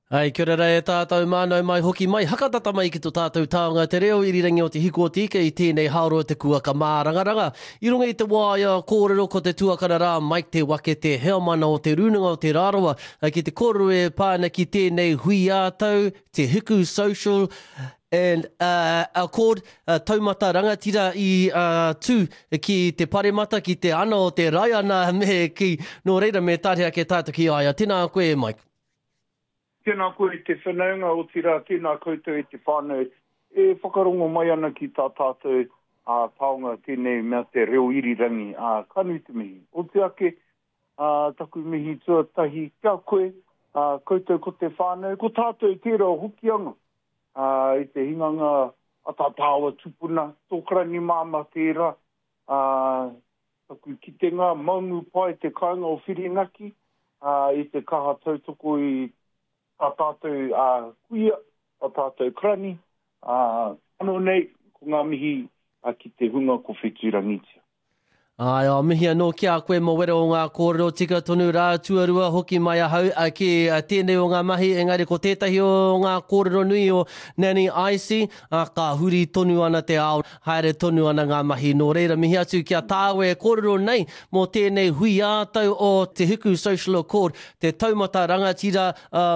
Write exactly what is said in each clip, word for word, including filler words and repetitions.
Ai, kia ora rā e tātou mānau mai hoki mai, hakatata mai ki to tātou taonga te reo irirangi o te hiku o te ika i tēnei haoro te kuaka mārangaranga. I runga i te waea kōrero ko te tuakana rā Mike Te Wake te heamana o te Rūnanga o Te Rarawa ki te kōrero e pā ana ki tēnei hui ā-tau, Te Hiku Social and uh, Accord uh, taumata rangatira i uh, tū ki te paremata, ki te ana o te Raiana me ki, nō reira me tāre ake tātou ki a ia. Tēnā koe e Mike. Tēnā koe e te whanaunga, otirā tēnā koutou e te whānau e whakarongo mai ana ki tā tātou ā, taonga tēnei mea te reo irirangi, ā, ka nui te mihi. Oti ake, ā, taku mihi tuatahi ki a koe, ā, koutou ko te whānau, ko tātou tērā o Hokianga, ā, i te hinganga a tā tāua tupuna, tō karani māmā tērā, ā, taku kitenga, maungu pai te kāinga o Whirinaki, ā, i te kaha tautoko i tā tātou ā, kuia, tā tātou karani, ā, anō nei, ko ngā mihi ā, ki te hunga ko whetūrangitia. Āe, ā, mihi anō ki a koe mō wera o ngā kōrero tika tonu rā tuarua hoki mai ahau ā, ki ā, tēnei o ngā mahi, engari ko tētahi o ngā kōrero nui o Nanny Icy, ā, ka huri tonu ana te ao, haere tonu ana ngā mahi. Nō reira, mihi atu ki a tāua e kōrero nei mō tēnei hui ā-tau o Te Hiku Social Accord, te taumata rangatira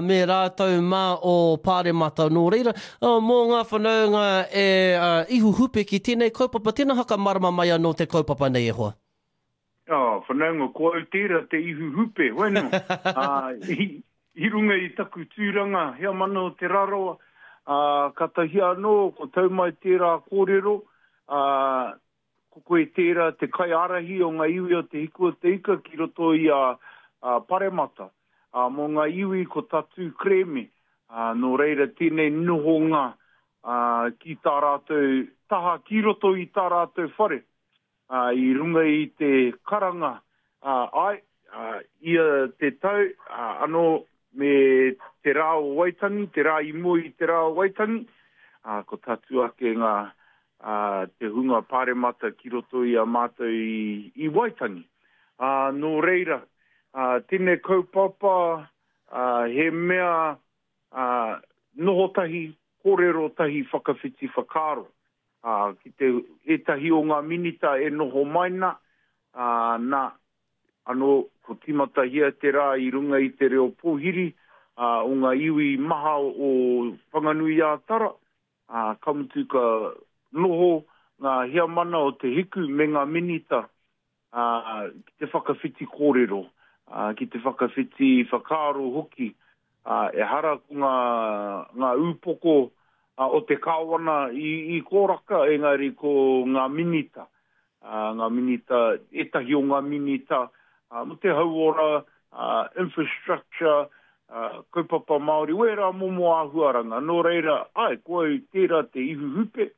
me rātou mā o Pāremata. Nō reira, mō ngā whanaunga e ihu hupe ki tēnei kaupapa, tēnā whakamarama mai anō te kaupapa nei e hoa. Oh, whanaunga, ko au tērā te ihu hupe, hoi nō. Uh, i, i runga i taku tūranga, heamana o Te Rarawa, uh, katahi anō, ko tau mai tērā kōrero, uh, ko koe tērā te kaiārahi o ngā iwi o Te Hiku o Te Ika ki roto i a, a Paremata. Ā, mō ngā iwi ko Tatū Kerēme, ā, nō reira tēnei nohonga, ā, ki tā rātou taha ki roto i tā rātou whare, ā, i runga i te karanga, ā, āe, ā, ia te tau, ā, anō me te rā o Waitangi, te rā i mua i te rā o Waitangi, ā, ko tatū ake ngā, ā, te hunga paremata ki roto i a mātou i, i Waitangi. Ā, nō reira, ā, tēnei kaupapa, ā, he mea, ā, noho tahi, kōrero tahi, whakawhiti whakaaro, ā, ki te, ētahi o ngā minita e noho mai na, ā, nā, anō, ko tīmatahia te rā i runga i te reo pōhiri, ā, o ngā iwi maha o Whanganui-ā-Tara, ā, ka mutu ka noho ngā heamana o Te Hiku me ngā minita, ā, ki te whakawhiti kōrero, ā, ki te whakawhiti whakaaro hoki, ā, ehara ko ngā, ngā ūpoko o te kāwana i, i kōraka, engari ko ngā minita, ā, ngā minita, ētahi o ngā minita, ā, mō te hauora, ā, infrastructure, ā, kaupapa Māori, wērā momo āhuaranga. Nō reira, āe, ko au tērā te ihu hupe,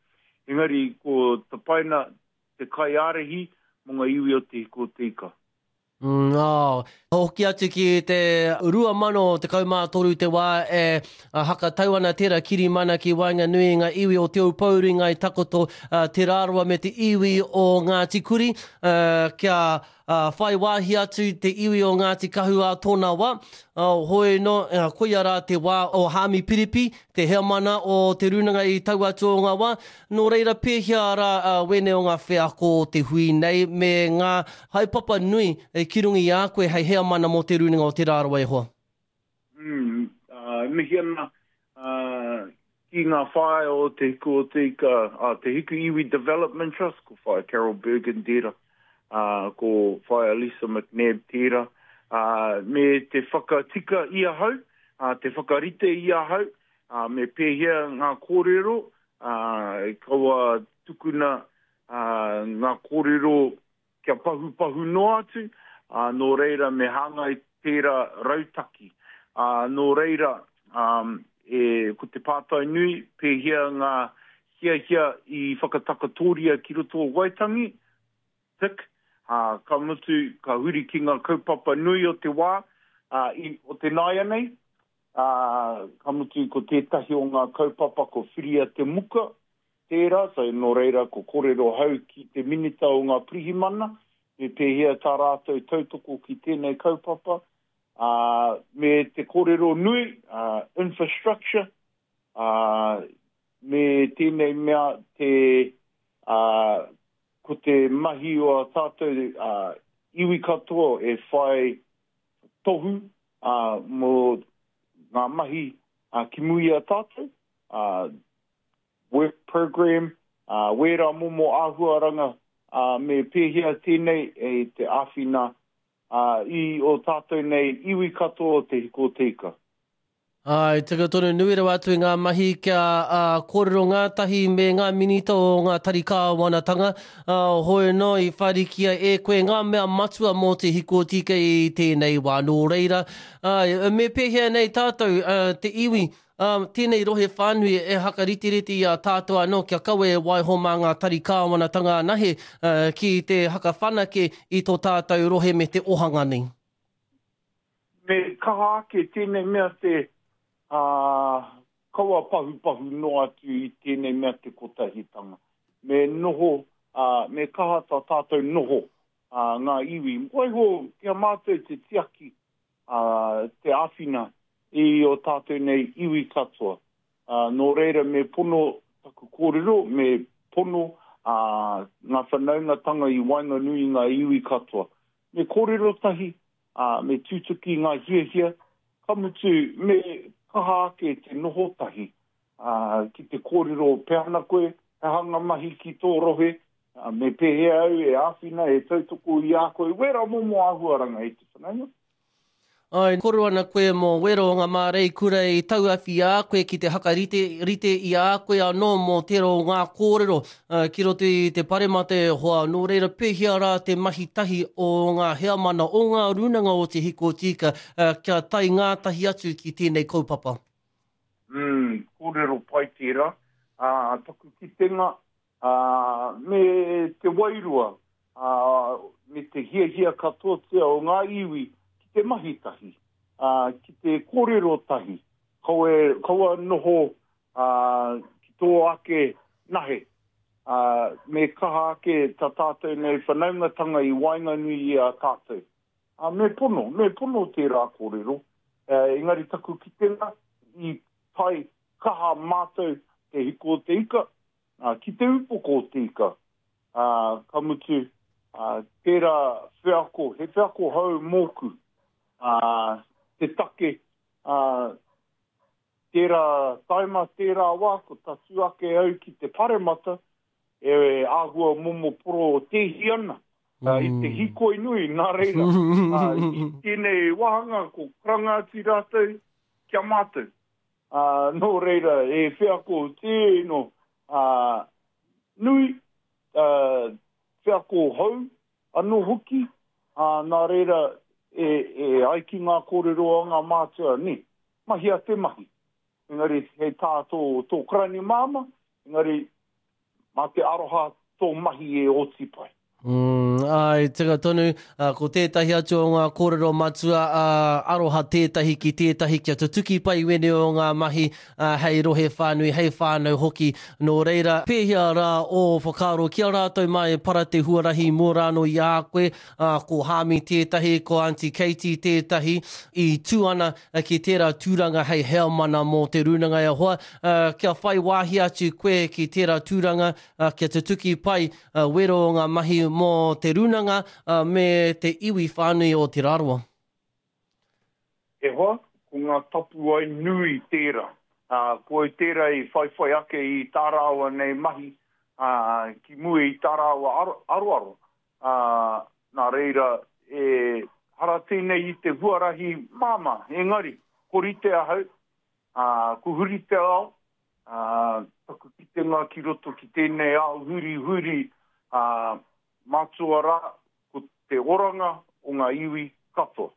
engari ko Tapaina te kaiārahi mō ngā iwi o Te Hiku o Te Ika. Mm, oh. Hoki atu ki te rua mano tekau mā toru te wā e hakatau ana tērā kirimana ki waenganui i ngā iwi o Te Aupōuri, Ngāi Takoto, Te Rarawa me te iwi o Ngāti Kuri, kia whai wāhi atu te iwi o Ngāti Kahu ā tōna wā. Hoi nō, koia rā te wā o Haami Piripi, te heamana o Te Rūnanga i taua atu o ngā wā. Nō reira, pēhea rā wēnei o ngā wheako o te hui nei me ngā haepapa nui ki runga i a koe hei heamana mō Te Rūnanga o Te Rarawa e hoa? Mm, uh, mihi ana uh, ki ngā whaea o Te Hiku o Te Ika, uh, Te Hiku Iwi Development Trust, ko Whaea Carol Bergen tērā, uh, ko Whaea Lisa McNabb tērā, uh, me te whakatika i ahau, uh, te whakarite i ahau, uh, me pēhea ngā kōrero, uh, kaua tukuna uh, ngā kōrero kia pahupahu noa atu, ā, nō reira me hāngai tērā rautaki. Ā, nō reira, ā, e, ko te pātai nui, pēhea ngā hiahia i whakatakatoria ki roto o Waitangi, tick, ā, ka mutu, ka huri ki ngā kaupapa nui o te wā, ā, i, o te nāianei, ā, ka mutu ko tētahi o ngā kaupapa ko Whiria te Muka, tērā, so nō reira ko kōrero hau ki te Minita o ngā Pirihimana, me pēhea tā rātou tautoko ki tēnei kaupapa, Ā, me te kōrero nui, ā, infrastructure, ā, me tēnei mea te, ā, ko te mahi o ā tātou, ā, iwi katoa e whai tohu, ā, mō ngā mahi, ā, ki mua i a tātou, ā, work program, ā, wērā momo āhuaranga, ā, me pēhea tēnei e te āwhina, ā, i ō tātou nei iwi katoa o Te Hiko o Te Ika. Āe, tika tonu, nui rawa atu i ngā mahi kia kōrero ngātahi me ngā minita o ngā tari kāwanatanga, ā, hoi anō i whārikia e koe ngā mea matua mō Te Hiko o Te Ika i tēnei wā. Nō reira, āe, me pēhea nei tātou, te iwi, ā, tēnei rohe whānui e hakariterite i a tātou anō kia kaua e waiho mā ngā tari kāwanatanga anahe ki te hakawhanake i tō tātou rohe me te ohanga nei. Me kaha ake tēnei mea te, ā, kaua pahupahu noa atu i tēnei mea te kotahitanga. Me noho, ā, me kaha tā tātou noho, ā, ngā iwi. Waiho ki a mātou te tiaki, ā, te āwhina i ō tātou nei iwi katoa. Ā, nō reira me pono taku kōrero, me pono, ā, ngā whanaungatanga i waenganui i ngā iwi katoa. Me kōrero tahi, ā, me tutuki ngā hiahia, ka mutu me kaha ake te noho tahi, ā, ki te kōrero pea ana koe, he aha ngā mahi ki tō rohe, ā, me pēhea au e āwhina, e tautoko i a koe, wērā momo āhuaranga e te whanaunga. Āe, kōrero ana koe mō wero o ngā māreikura i tauawhi i a koe ki te hakarite rite i a koe anō mō tērā o ngā kōrero ki roto i te paremata e hoa, nō reira pēhea rā te mahi tahi o ngā heamana, o ngā rūnanga o Te Hiko Tika kia tae ngātahi atu ki tēnei kaupapa? Mm, kōrero pai tērā. Ā, taku kitenga, ā, me te wairua, ā, me te hiahia katoatia o ngā iwi ki te mahi tahi, ā, ki te kōrero tahi, kaua, kaua noho, ā, ki tō ake nahe, ā, me kaha ake tā tātou nei whanaungatanga i waenganui i a tātou. Ā, me pono, me pono tērā kōrero, ā, engari taku kitenga i tae kaha mātou te hiko o te ika, ā, ki te upoko o te ika, ā, ka mutu, ā, tērā wheako, he wheako hou mōku, ā, te take, ā, tērā taima, tērā wā, ko tatū ake au ki te paremata, e āhua momo porotēhi ana, mm. i te hīkoi nui, nā reira, ā, i tēnei wāhanga ko karanga atu rātou ki a mātou. Ā, nō reira, e wheako tēno, ā, nui, ā, wheako hou anō hoki, ā, nā reira, e, e ai ki ngā kōrero a ngā mātua, nē, mahia te mahi. Engari, hei tā tō, tō karani māmā, engari, mā te aroha tō mahi e oti pai. Mm, āe, tika tonu, ko tētahi atu o ngā kōrero matua, ā, aroha tētahi ki tētahi kia tutuki pai wēnei o ngā mahi, ā, hei rohe whānui, hei whānau hoki. Nō reira, pēhea rā ō whakaaro ki a rātou mā e para te huarahi mō rānō i a koe, ā, ko Hāmi tētahi, ko Aunty Katie tētahi, i tū ana ki tērā tūranga hei heamana mō te rūnanga e hoa, ā, kia whai wāhi atu koe ki tērā tūranga, ā, kia tutuki pai wero o ngā mahi mō te rūnanga me te iwi whānui o Te Rarawa. E hoa, ko ngā tapuwae nui tērā. Ā, ko au tērā i whaiwhai ake i tā rāua nei mahi, ā, ki mua i tā rāua aroaro. Ā, nā reira, e hara tēnei i te huarahi māmā, engari, ko rite ahau, ā, ko huri te ao, ā, taku kitenga ki roto ki tēnei ao hurihuri, ā, mātua rā, ko te oranga o ngā iwi katoa.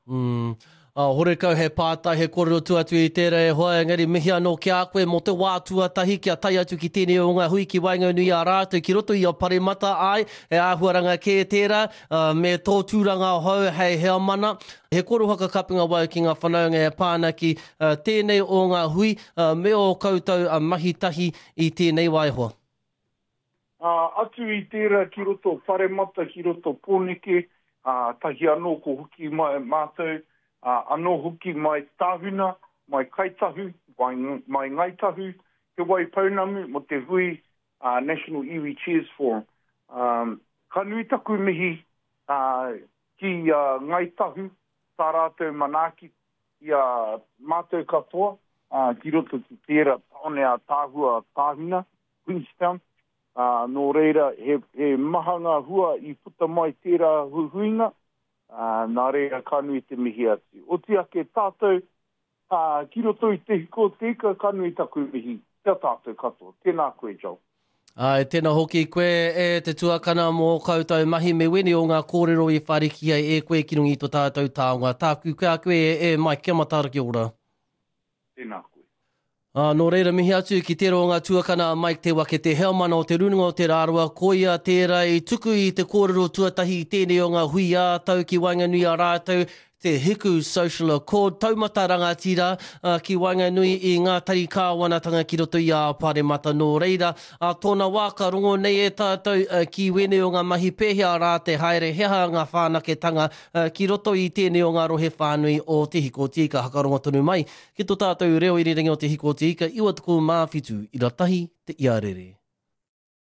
Mm. Uh, horekau he pātai, he kōrero tu atu i tērā e hoa, engari mihi anō ki a koe mō te wā tuatahi kia tae atu ki tēnei o ngā hui ki waenganui i a rātou ki roto i a Paremata, āe, he āhuaranga kē tērā, uh, me tō tūranga hou hei heamana. He kōrero whakakapinga wau ki ngā whanaunga e pā ana ki uh, tēnei o ngā hui, uh, me ō koutou uh, mahi tahi i tēnei wā e hoa. Ā, atu i tērā ki roto Paremata, ki roto Pōneke, Ā, tahi anō ko hoki mai mātou, ā, anō hoki mai Tāhuna, mai Kaitahu, mai, mai Ngāi Tahu, Te Waipounamu mō te hui ā, National Iwi Chairs Forum. Um, ka nui taku mihi ā, ki a Ngāi Tahu, tā rātou manaaki i a mātou katoa, ā, ki roto ki tērā tāone ātaahua Tāhuna, Queenstown. Ā, nō reira, he, he maha ngā hua i puta mai tērā huihuinga, ā, nā reira ka nui te mihi atu. Oti ake tātou, ā, ki roto i Te Hiko o Te Ika, ka nui taku mihi ki a tātou katoa. Tēnā koe, Joel. Āe, tēnā hoki koe e te tuakana mō koutou mahi me wēnei o ngā kōrero i whāriki ai e koe ki runga i tō tātou taonga. Tāku ki a koe e Mike, kia mataara kia ora. Tēnā koe. Ā, nō reira, mihi atu ki tērā o ngā tuakana a Mike Te Wake, te heamana o Te Rūnanga o Te Rarawa, koia tērā i tuku i te kōrero tuatahi i tēnei o ngā hui ā-tau ki waenganui a rātou, te Hiku Social Accord, taumata rangatira ki waenganui i ngā tari kāwanatanga ki roto i a Paremata. Nō reira, ā tōna wā ka rongo nei e tātou ki wēnei o ngā mahi pēhea rā te haere, he aha ngā whānaketanga ki roto i tēnei o ngā rohe whānui o Te Hiko o Te Ika. Hakarongo tonu mai ki tō tātou reo irirangi o Te Hiko o Te Ika, iwa tekau mā whitu ira tahi te iarere.